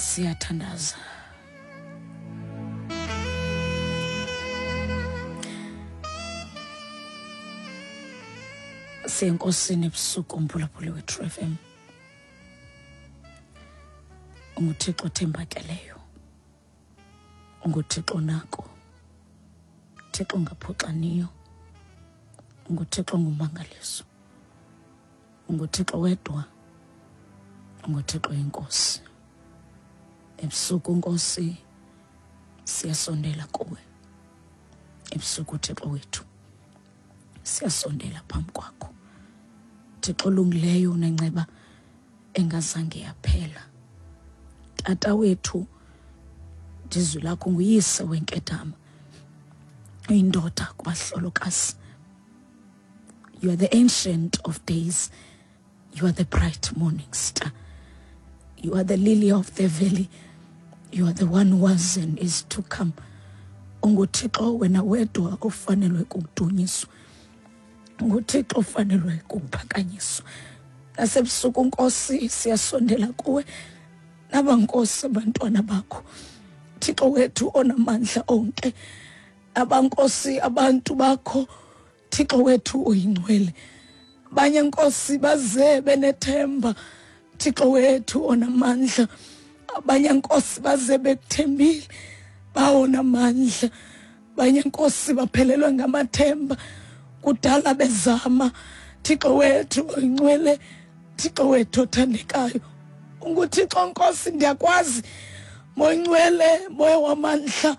Siyathandaza. Siyenkosini ebusuku umphulaphuli we-True FM. UnguThixo othembakeleyo. UnguThixo onako. Thixo ongaphoxaniyo. UnguThixo ongumangaliso. UnguThixo wedwa. UnguThixo inkosi. Ebusuku Nkosi siyasondela kuwe. Ebusuku Thixo wethu siyasondela phambi kwakho. Thixo olungileyo unenceba engazange yaphela. Tata wethu ndizwi lakho nguyise wenkedama. Uyindoda kubahlolokazi. You are the ancient of days. You are the bright morning star. You are the lily of the valley. You are the one who was and is to come. UnguThixo wena wedwa ofanelwe kukudunyiswa. UnguThixo ofanelwe kukuphakanyiswa. Nasebusuku Nkosi siyasondela kuwe. Naba Nkosi abantwana bakho. Thixo wethu onamandla onke. Abankosi abantu bakho Thixo wethu uyingcwele. Abanye Nkosi baze benethemba Thixo wethu onamandla. Abanye Nkosi baze bekuthembile bawo namandla. Abanye Nkosi baphelelwe ngamathemba kudala bezama. Thixo wethu oyingcwele, Thixo wethu othandekayo. UnguThixo Nkosi ndiyakwazi. Moyingcwele, moya wamandla.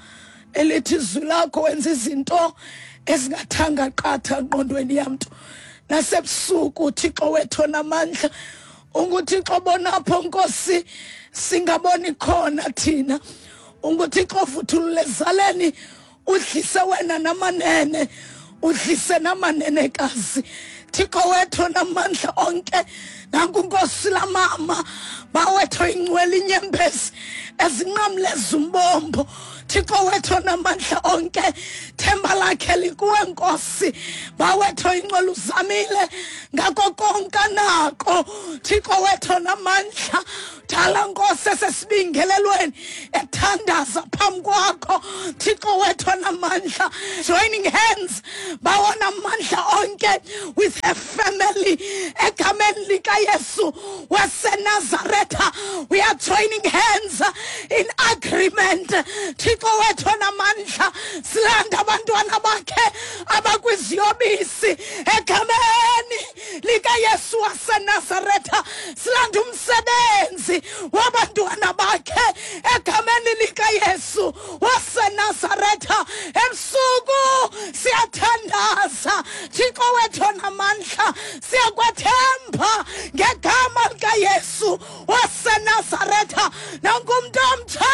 Elithi izwi lakho wenza izinto ezingathanga qatha engqondweni yamntu. Nasebusuku Thixo wethu onamandla, unguThixo bonapho Nkosi singaboni khona thina. UnguThixo ovuthulule ezaleni, udlise wena namanene, udlise namanenekazi. Thixo wethu onamandla onke, nanku Nkosi lamama bawethu ingcwele inyembezi ezinqamleza umbombo. Thixo wethu onamandla onke, themba lakhe likuwe Nkosi. Bawethu ingcwele uzamile ngako konke anako. Thixo wethu onamandla, dala Nkosi esesibingelelweni ethandaza phambi kwakho. Thixo wethu onamandla, joining hands bawona amandla onke with her family egameni likaYesu waseNazaretha. We are joining hands in agreement. Thixo wethu onamandla, silanda abantwana bakhe abakwiziyobisi egameni likaYesu waseNazaretha. Silanda umsebenzi wabantwana bakhe egameni likaYesu waseNazaretha. Ebusuku siyathandaza Thixo wethu onamandla, siyakwethemba ngegama likaYesu waseNazaretha. Nanku umntu omtsha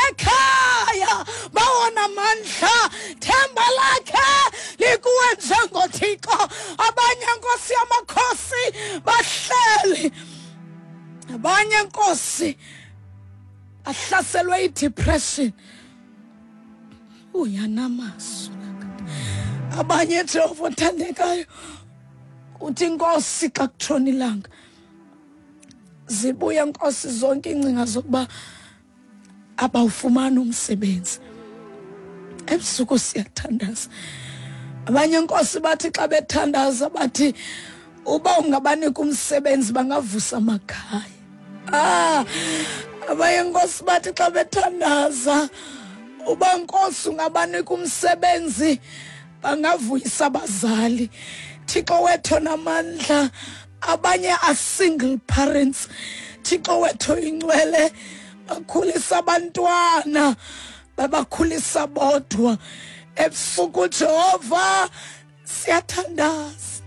ekhaya bawona mandla, themba lakhe likuwe njengoThixo. Abanye Nkosi yamakhosi bahleli, abanye Nkosi ahlaselwe i-depression. Uyanamazwi abanye Jehova othandekayo, uthi Nkosi xa kutshona ilanga zibuya Nkosi zonke iingcinga zokuba abawufumani umsebenzi. Ebusuku siyathandaza. Abanye Nkosi bathi xa bethandaza bathi uba ungabanika umsebenzi bangavusa amakhaya. Abanye Nkosi bathi xa bethandaza uba Nkosi ungabanika umsebenzi bangavuyisa abazali. Thixo wethu onamandla, abanye are single parents. Thixo wethu oyingcwele, bakhulisa abantwana, babakhulisa bodwa. Ebusuku Jehova siyathandaza.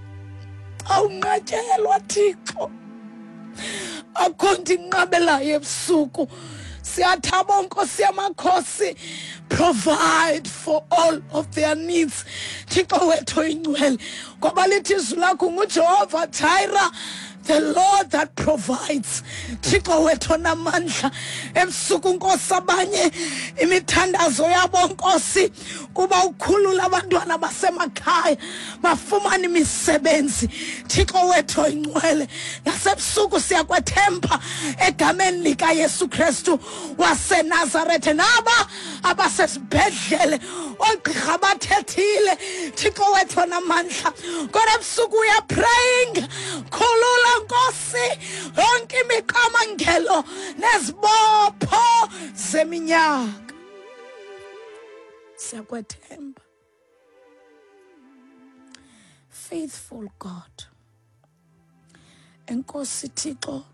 Awunqatyelwa Thixo, akho nto inqabelayo ebusuku. Siyathaba Nkosi yamakhosi, provide for all of their needs. Thixo wethu oyingcwele, ngoba lithi izwi lakho nguJehova Jireh, the Lord that provides. Thixo wethu onamandla, ebusuku Nkosi abanye imithandazo yabo Nkosi kuba ukhulula abantwana basemakhaya bafumane imisebenzi. Thixo wethu oyingcwele, nasebusuku siyakwethemba egameni likaYesu Kristu waseNazarethe. Naba abasesibhedlele oogqirha bathethile, Thixo wethu onamandla, kodwa ebusuku we are praying, khulula Nkosi yonke imiqamangelo nezibopho zeminyaka. Siyakwethemba, faithful God. Enkosi Thixo,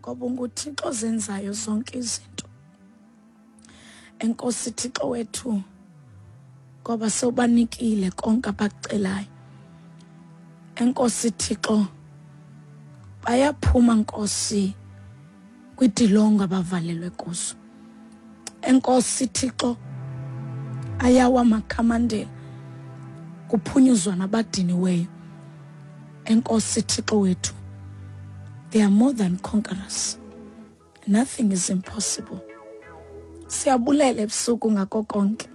ngoba unguThixo ozenzayo zonke izinto. Enkosi Thixo wethu, ngoba sewubanikile konke abakucelayo. Enkosi Thixo, bayaphuma Nkosi kwitilongo abavalelwe kuzo. Enkosi Thixo, ayawa amakhamandela kuphunyuzwa nabadiniweyo. Enkosi Thixo wethu, they are more than conquerors, nothing is impossible. Siyabulela ebusuku ngako konke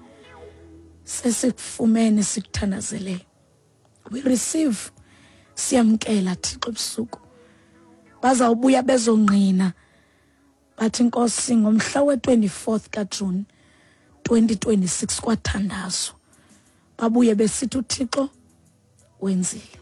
sesikufumene sikuthandazeleyo. We receive, siyamkela Thixo ebusuku. Bazawubuya bezongqina bathi, Nkosi, ngomhla we-24th kaJuni 2026 kwathandazwa, babuye besithi uThixo wenzile.